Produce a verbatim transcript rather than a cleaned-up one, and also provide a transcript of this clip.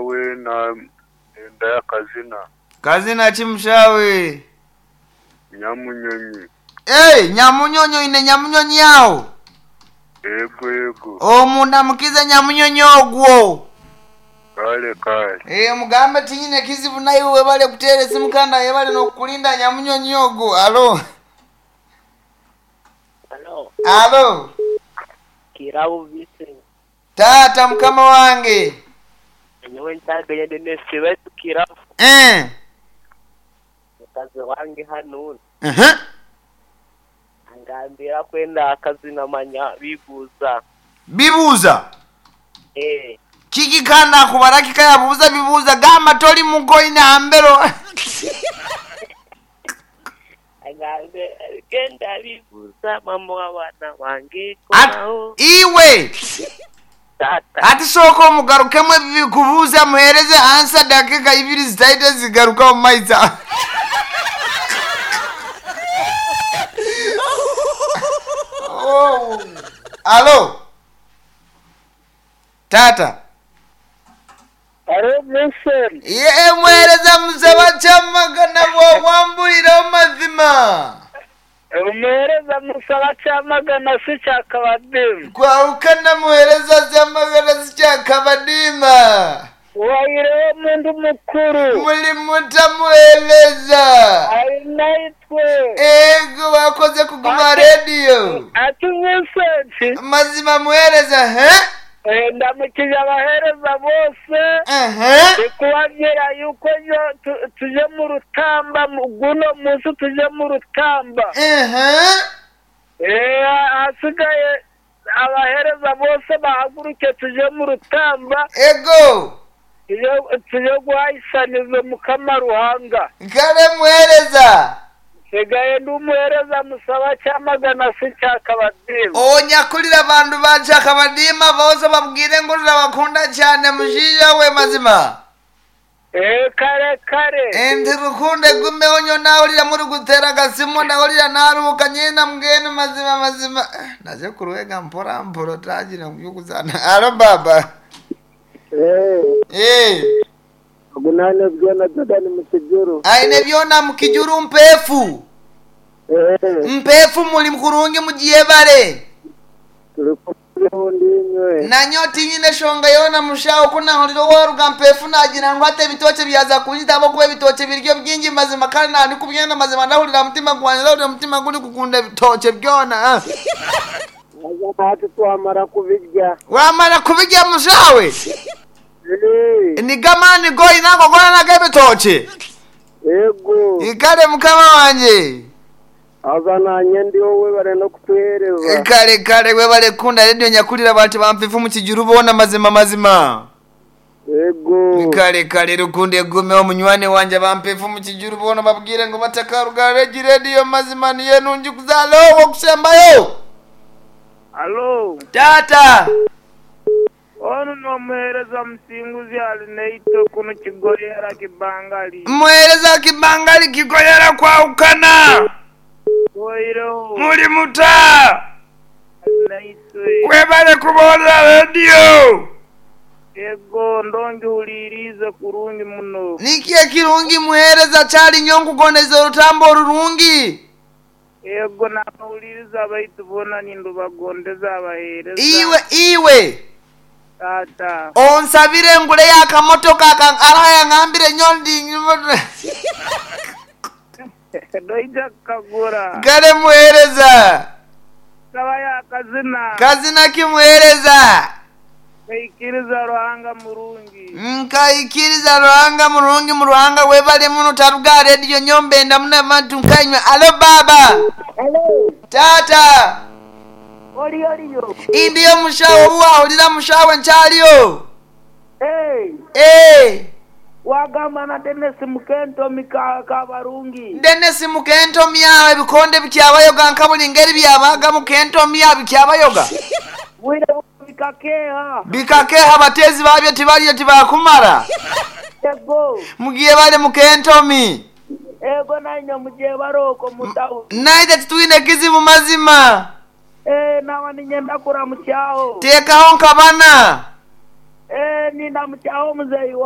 Nyowe na enda y'akazina. Kazina ki mushawe? Nyamunyonyi. Hey, nyamunyonyi oine nyamunyonyi aho. Ego ego. Omundamukize nyamunyonyi ogwo. Kale kale. Eh, mugambe tinyine kizibu naye webale kuteera esimu kandi ayebale n'okukulinda nyamunyonyi ogwo. Alo. Alo, Alo. Kirabo Vincent. Taata mukama wange. Nyowe nkyaganya Dennis baitu Kirabo. Eh. Mukazi wange hano Uh-huh. angambira kwenda akazina manya bibuuza. Bibuuza. Eh, Kiki kandi akubara kikayabuuza bibuuza gamba toli mukoina ambero. agambe genda bibuuza mama w'abaana bange At, komaho iwe tata. ati sooka omugarukemu ebikubuuza muhereze ansa dakika ibiri zitaite zigaruka omu maiso. Oh. Alo. Tata. Alo Vincent. Ye muhereza musaba kyamagana bw'owambulira amazima. Omuheereza musaba kyamagana si kyakabadimu. Kwawukana muhereza kyamagana si kyakabadiima. Waireho omundu mukuru. Muli mutamuhereza. Ainaitwe. Ego wakoze kuguma rediyo. Ati Vincent. Mazima muhereza he? Eh, ndamukije abaheereza bose. Ehe. Ndikubabwira yuko yo tu- tuje mu rutamba mu- guno munsi tuje mu rutamba. Ehe. Eh, ahasigaye abaheereza bose bahaguruke tuje mu rutamba Ego. tuje tuje guhayisaniza Mukama Ruhanga. Kale muhereza. Nsigaye ndi umuheereza musaba cyamagana si cyakabadimu. Onyakulira bantu ba kyakabadiima bose babwire ngo turabakunda cyane mushiija we mazima. Eh, kare kare. Enti rukunde gumeho nyo nawulira muri gutera agasimu ndawulira naruhuka nyena mugende mazima mazima. Eh, Naje kuruwega mpora mpora tagira kubyukuzana. Alo baba. Eh, Eh. gunane byona Jordan mu kijuru. Aine byona mukijuru mpefu. Eh, Mpefu muli mkurungi mujiyebale. turi kumwe ndinywe. Nanyo tinyine shonga yona mushawo kunahulira waruga mpefu nagira ngo ate ebitoke byaza kunjitabo kuba ebitoke biryo byingi mazima kandi nandi kubyenda mazima ndahulira mutima gwanje ndahulira mutima guri kukunda ebitoke byona. ah. Aza hati twamara kubirya. Wamara kubirya mushawe. Eh, Nigamani goyina gogora nago ebitoke. ego. Ikale mukama wanje. Aza nanye ndi wowe bare no kutuhereza. Kale kale webale kunda redio nyakulira bantu bampefu mu kijuru bona mazima mazima. Ego. Kale kale rukunde gumeho munywani wanje bampefu mu kijuru bona babwire ngo batakaruga regi redio mazima niye nungi kuzala owo kusembayo. Alo. Tata. Ono n'omuheereza musinguzi ali neito kuno kigoyera kibangali. Muhereza kibangali kigoyera kwawukana. Oireho Muli muta. naitwe. Webale kuboolera redio. Ego ndonjihulirize kurungi muno. Niki ekirungi muhereza kyali nnyo nkugondeza orutambo orurungi. Ego nabahuliriza abaitu boona nindubagondeza abaheereza. Iwe iwe. Tata. Onsabire ngule yakamotoka aka araha yangambire nnyo ndi Noija kukagura. kale muhereza. Saba yakazina. Kazina kimuhereza. Kaikiriza Ruhanga murungi. Nkaikiriza Ruhanga murungi mu Ruhanga webale muno taruga rediyo nyombenda muna bantu nkanywa. Alo baba. Hello. Tata. Oli oliyo. Indiyo mushawo obuwahulira mushawe nkyaliyo. Hey. Eh. Wagamba na Dennis Mukentomi ka Kabarungi. Dennis mukentomya ebikonde bikyabayoga nka buli ngeri byabaga mukentomya bikyabayoga. Bwire bikakeha. Bikakeha abateezi babyo tibaliyo tibakumara. Ego. Mugiye bali mukentomi. Ego nanye mugiye baroko mutawu. Naite titwine kizibu mazima. Eh nawa ninyenda kuramukyaho. Teekaho nkabana. Eh ninda mukyaho muzeyi